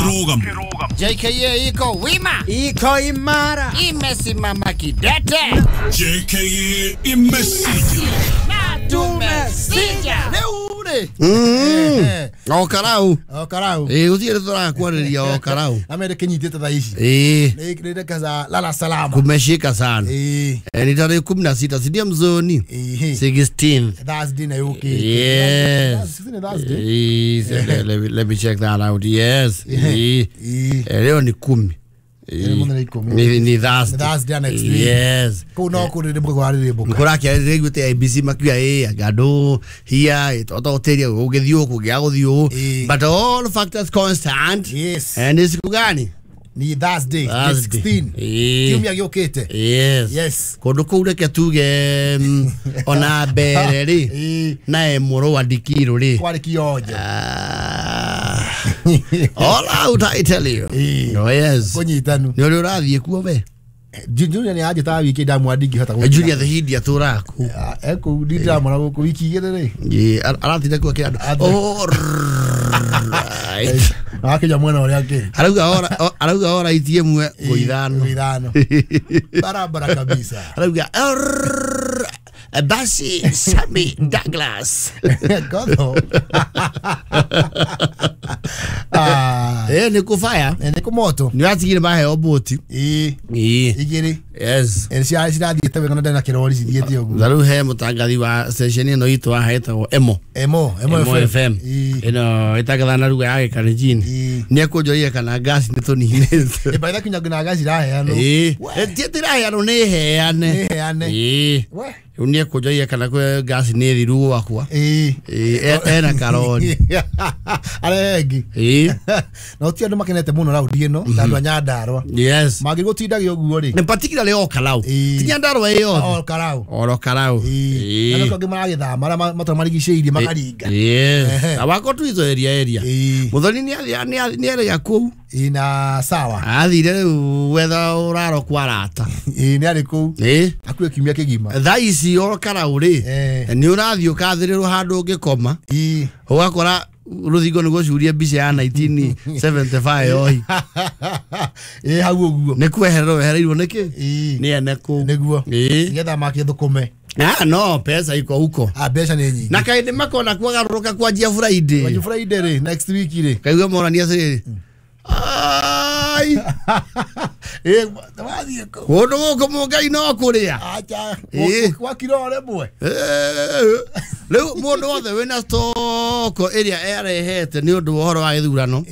Kĩrũgamo. JKA iko wima, iko imara, imesimama kidete. JKA imesija. Na tumesija. Rĩu rĩ O karau. O karau. Ĩĩ gũtirĩ tũrakwarĩria o karau. Amere kinyitĩte thaa ici. Ĩĩ. Nĩ reka lala salama. Kumeshika sana. Ĩĩ. Ni tarehe 16 si ndio mzoni? 16th. Thursday na yũkĩte. Yes. Thursday. Ĩĩ, let me check that out. Yes. Ĩĩ. Leo ni 10. Ni Thursday. Thursday next week. Yes. Kũu no kũrĩrĩmbũka kwarĩrĩmbũka. Kũrakĩarĩrĩguĩte IBC makiuga ĩ anga andũ hia ĩtototĩria gũgĩthiĩ ũũ kũngĩaga gũthiĩ ũũ. But all factors constant. Yes. And ni siku gani? Ni Thursday, 16. Kiumia gĩũkĩte. Yes. Yes. Kũndũ kũu reke tuge ona mbere rĩ na Emũrũ wa Ndikirũ rĩ. Kwarĩ kionjo. All out, I tell you. Oh, yes. Kũnyitanu. Nĩ ũrĩa ũrathiĩ kuo we? Junior nĩ anjĩtaga wiki ndamwa ndingĩhota gũkinya. Junior the Hindi atũraga kũu. Kũu ndĩramwona gũkũ wiki igĩrĩ rĩ. Ĩĩ, aratinda kuo akĩra andũ. All right. Akinya mwena ũrĩa akĩrĩ. Arauga ora ĩmwe ngũ ithano. Ithano. Barabara kabisa. Arauga basi Sammy Douglas. Gotho. Nĩ kũbaya. Nĩ kũmoto. Nĩ watigire maheo bũti. Ĩĩ. Ĩĩ. Igĩrĩ. Yes. Cirathiĩte wega na ndarĩ na kĩrori cithiĩte ũguo. Na rĩu he mũtangathi wa station ĩno itũ haha ĩtagwo Emo. Emo FM. Ĩno ĩtangathaga na lugha ya Gĩkalenjin. Nĩ ekũnjũria kana ngasi nĩ tũninĩte. Ĩ by the kinya nginya ngasi iraheanwo. Ĩĩ. Ti ĩtiraheanwo nĩ heane. Nĩ heane. Ĩĩ. Rĩu nĩ ekũnjũria kana kwĩ ngasi nĩ thiru gwakwa. Ĩĩ. Ena karori. Arehe ĩngĩ. Ĩĩ. Na ũti andũ makenete mũno raundi ĩno ta andũ a Nyandarũa. Yes. Mangĩrwo gũtindagia ũguo rĩ. Nĩ particularly o Karau. Ti Nyandarũa ĩyothe. O Karau. Oro Karau. Ĩĩ. Na nĩkĩo angĩ maragĩthama arĩa matũra marigicĩirie makaringa. Yes. Awako tu hizo area. Muthoni nĩ arĩa kũu. Ĩĩ na sawa. Athire rĩu gwetha ũraro kwa arata. Ĩĩ nĩ arĩ kũu. Ĩĩ. Hakuhĩ kiumia kĩgima. Thaa ici o Karau rĩ. Nĩ ũrathiĩ ũkathĩrĩrwo handũ ũngĩkoma. Ĩĩ. Ũgakora rũthingo nĩ gũcuria mbica ya 1975 ohi. Ĩĩ hau ũguo. Nĩ kwehererwo wehereirwo nĩkĩ? Nĩ ene kũu. Nĩguo. Ĩĩ. Nĩgetha makĩthũkũme. Ah no, pesa iko huko. Ah, mbeca nĩ nyingĩ. Na kaĩndĩ makona kwagarũrũka kwanjia Friday. Kwanjia Friday rĩ, next week rĩ. Kaigua morania atĩrĩrĩ. Ai. Ĩĩ, wathiĩ kũ? Kũndũ gũkũ mũngai no kũrĩa. Acha. Gwakira o rĩmwe. Rĩu mũndũ wothe wĩna stoko ĩrĩa arehete nĩ ũndũ wa ũhoro wa gĩthurano.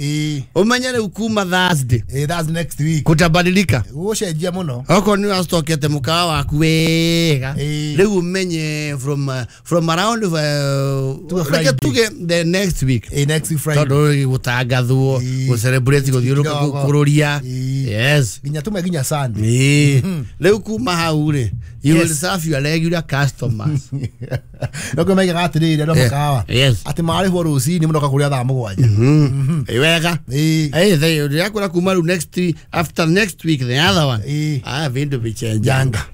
Ũmenye rĩu kuma Thursday. Ĩĩ, that's next week. Kutabadilika. Gũgũcenjia mũno. Okorwo nĩ ũracitokete mũkawa waku wega. Rĩu ũmenye from around reke tuge the next week. Ĩĩ, next week Friday. Tondũ gũtangathwo, gũcelebrate, gũthiũrũrũka, kũrũria. Yes. Nginya tume nginya Sunday. Ĩĩ. Rĩu kuma hau rĩ, you will serve your regular customers. No kå maigaga atĩrĩrĩ andũ a mũkawa. Yes. Atĩ marĩhwo rũcinĩ mũnoka kũrĩa thaa mũgwanja. Ĩ wega. Ĩĩ. Ĩ ndĩrakwĩra kuma rĩu next week, after next week the other one. Ĩĩ. Ah, vindu vichenjanga.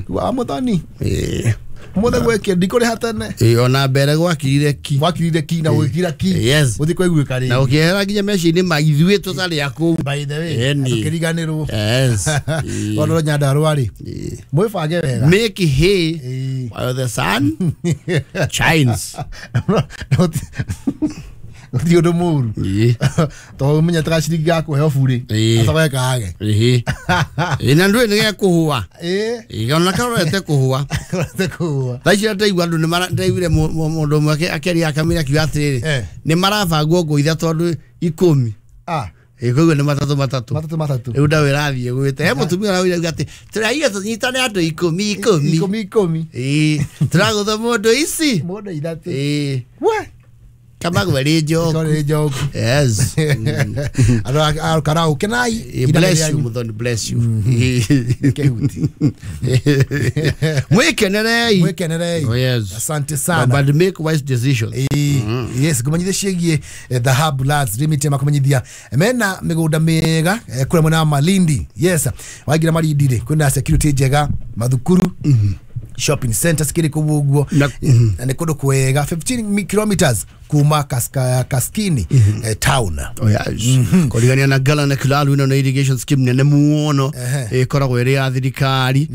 Wa mũthoni. Ĩĩ. Mũthĩ gwĩkĩ ndikũrĩha tene. Ĩĩ ona mbere gwakirire ki. Gwakirire ki na gwĩkira ki. Yes. Gũthiĩ kũiguĩka rĩngĩ. Na ũkĩehera nginya meciria-inĩ ma ithuĩ tũtarĩ a kũu. By the way, tũkĩriganĩrwo. Yes. Tondũ Nyandarũa rĩ. Mwĩbange wega. Make hay while the sun shines. Gũtirĩ ũndũ mũru. Tondũ ũmenyete gaciringi ga kũheo burĩ. Acoke kage. Ĩĩ. Ĩĩ na ndũĩ nĩ gekũhũa. Ĩĩ. Ĩĩ ona karorete kũhũa. Karorete kũhũa. Thaa ici ndaigua andũ ndaiguire mũndũ ũmwe akĩaria akamĩra akiuga atĩrĩrĩ nĩ marabangwo ngũ ithatũ andũ 10. Ah. Ĩĩ koguo nĩ matatũ matatũ. Matatũ matatũ. Rĩu ndaũ ĩrathiĩ gwĩte. He mũtumia ũrauga atĩ tũraiga tũnyitane andũ 10 10. 10 10. Ĩĩ. Tũragũtha mũndũ ici. Mũndũ ithatũ. Ĩĩ. We. Kama gweri njoku. Gweri njoku. Yes. Andũ a Karau kenai. Bless you Muthoni, bless you. Kehuti. Mwikenerei. Mwikenerei. Oh, yes. Asante sana. But make wise decisions. Yes, ngũmenyithie ciĩgiĩ The Hub Lands Limited makũmenyithia mena mĩgũnda mĩega kũrĩa mwena wa Malindi. Yes, waingĩra Malindi rĩ kwĩna security njega, mathukuru, shopping centers kiri kũu ũguo na nĩ kũndũ kwega 15 kilometers kuma Kaskini town. Oh yes. Kũrigania na Ngala na Kilalu ĩno nĩ irrigation scheme nene mũno ĩkoragwo ĩrĩ ya thirikari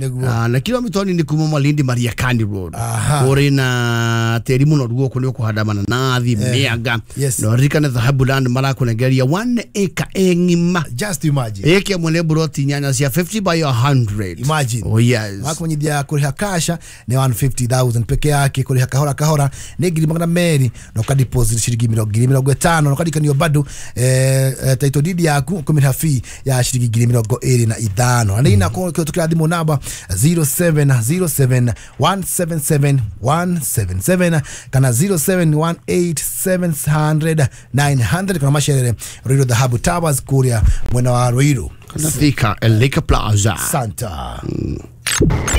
na kilomita nini kuma Malindi Mariakani Road. Kũrĩ na tĩri mũnoru gũkũ nĩ ũkũhanda mananathi, mĩanga. Na ririkane Dhahabu Land marakũnengeria 1 acre ng'ima. Just imagine. Ĩka ĩmwe nĩ buroti nyanya cia 50 by 100. Imagine. Oh yes. Makumenyithia kũrĩha kasha nĩ 150,000 peke yake, kũrĩha kahora kahora nĩ 200,000 na ũka deposit ciringi 50,000 na ũkarikanio bado title deed yaku ũkũmĩrĩha fee ya ciringi 25,000. Na nĩ inakorwo tukĩra thimũ namba 0707 177 177 kana 0718 700 900 kana macerere Ruiru Dhahabu Towers kuria mwena wa Ruiru Thika Elika Plaza Santa.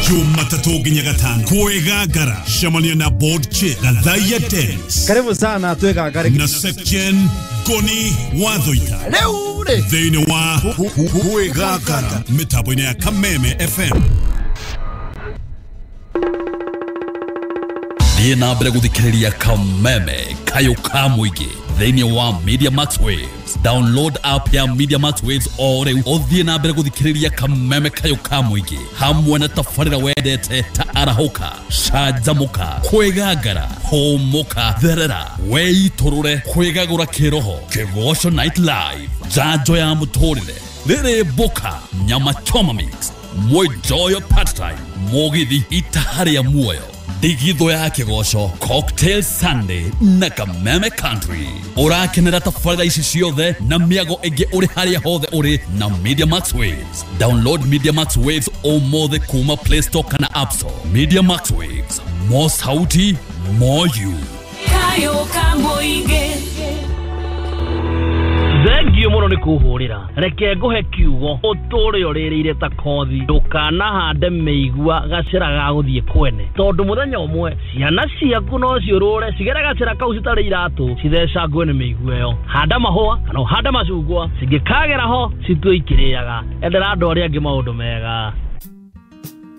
Jumatatu nginya gatano kwĩgangara cemania na board chair Gathaiya Dennis. Karibu sana twĩgangare na Section Goni Wathoita rĩu rĩ thĩinĩ wa kwĩgangara mĩtambo-inĩ ya Kameme FM. Thiĩ na mbere gũthikĩrĩria Kameme kayũ ka mũingĩ thĩinĩ wa Media Max Waves. Download app ya Media Max Waves o rĩu ũthiĩ na mbere gũthikĩrĩria Kameme kayũ ka mũingĩ hamwe na tabarĩra wendete ta arahũka, canjamũka, kwĩgangara, hũmũka, therera, weitũrũre, kwĩgagũra kĩroho, Kĩgoco Night Live, njanjo ya mũtũrĩre, rĩrĩ mboka, nyama choma mix, mwenjoyo part time, mũgithi itaha rĩa muoyo, ndigithũ ya kĩgoco, Cocktail Sunday na Kameme Country. Ũrakenera tabarĩra ici ciothe na mĩago ĩngĩ ũrĩ harĩa hothe ũrĩ na Media Max Waves. Download Media Max Waves ũmũthĩ kuma Play Store kana App Store. Media Max Waves, more sauti, more you. Kayo kamoige. Thengio mũno nĩ kũhũrĩra reke ngũhe kiugo ũtũre ũrĩrĩire ta kothi ndũkanahande mĩigua gacĩra ga gũthiĩ kwene tondũ mũthenya ũmwe ciana ciaku no ciũrũre cigere gacĩra kau citarĩ iratũ cithecangwe nĩ mĩigua ĩyo. Handa mahũa kana ũhande macungwa cingĩkagera ho citue ikĩrĩaga. Endera andũ arĩa angĩ maũndũ mega.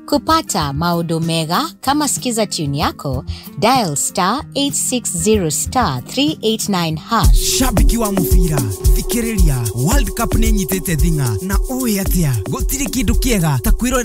Kupata maodo mega kama Skiza tune yako, dial star 860 star 389 hash. Shabiki wa mubira thikiriria World Cup nĩ nyitĩte thing'a na ũĩ atĩa gũtirĩ kĩndũ kĩega ta kwĩrorera.